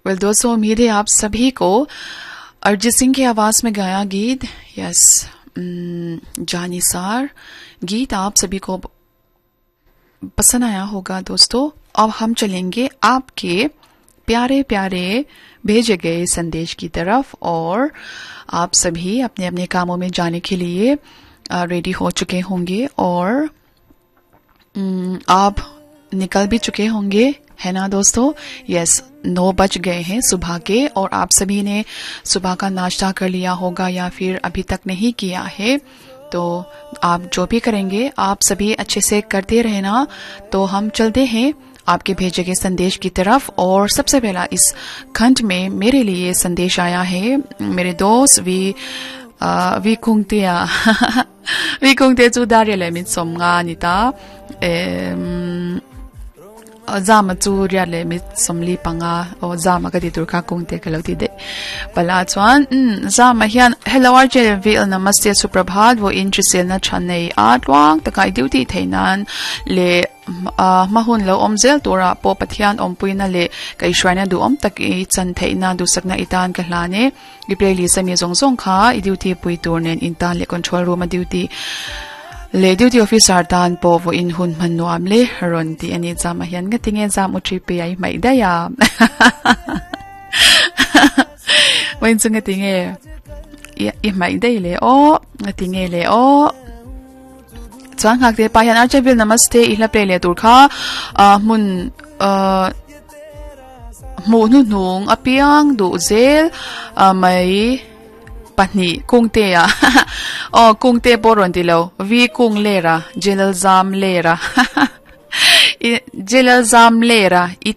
Well दोस्तों, उम्मीद है आप सभी को अरिजीत सिंह की आवाज में गाया गीत, यस, जानिसार गीत आप सभी को पसंद आया होगा। दोस्तों, अब हम चलेंगे आपके प्यारे प्यारे भेजे गए संदेश की तरफ और आप सभी अपने अपने कामों में जाने के लिए रेडी हो चुके होंगे और आप निकल भी चुके होंगे, है ना दोस्तों? यस, 9 बज गए हैं सुबह के और आप सभी ने सुबह का नाश्ता कर लिया होगा या फिर अभी तक नहीं किया है, तो आप जो भी करेंगे आप सभी अच्छे से करते रहना। तो हम चलते हैं आपके भेजे गए संदेश की तरफ और सबसे पहला इस खंड में मेरे लिए संदेश आया है मेरे दोस्त we we कुंगतिया we कुंगते chu dar le mi som nga ni ta zama chu ria le mi somli panga o zama ka ti tur kha kung te ka lo ti de pala chuan zama hian hello RJ VL namaste suprabhat vo in na chanei a tuang takai duty theinan le mahun lo omzel tura po pathian ompuina le kai shraina du om tak i chan theina du sakna itan ka hlane i playlist ami zong zong kha i duty pui tur nen in tan le control room a duty le duty officer tan po vo in hun man nuam le ron ti ani jama hian nga tinge jam u tri pe ai mai da ya wen chu nga tinge i mai dai le o nga tinge le o chuan ngak te pa hian archevil namaste i hla play le tur kha mun mu nu nung apiang du zel mai pahni kungte a o kungte poron ti lo vi kung lera jelal zam lera jelal zam lera i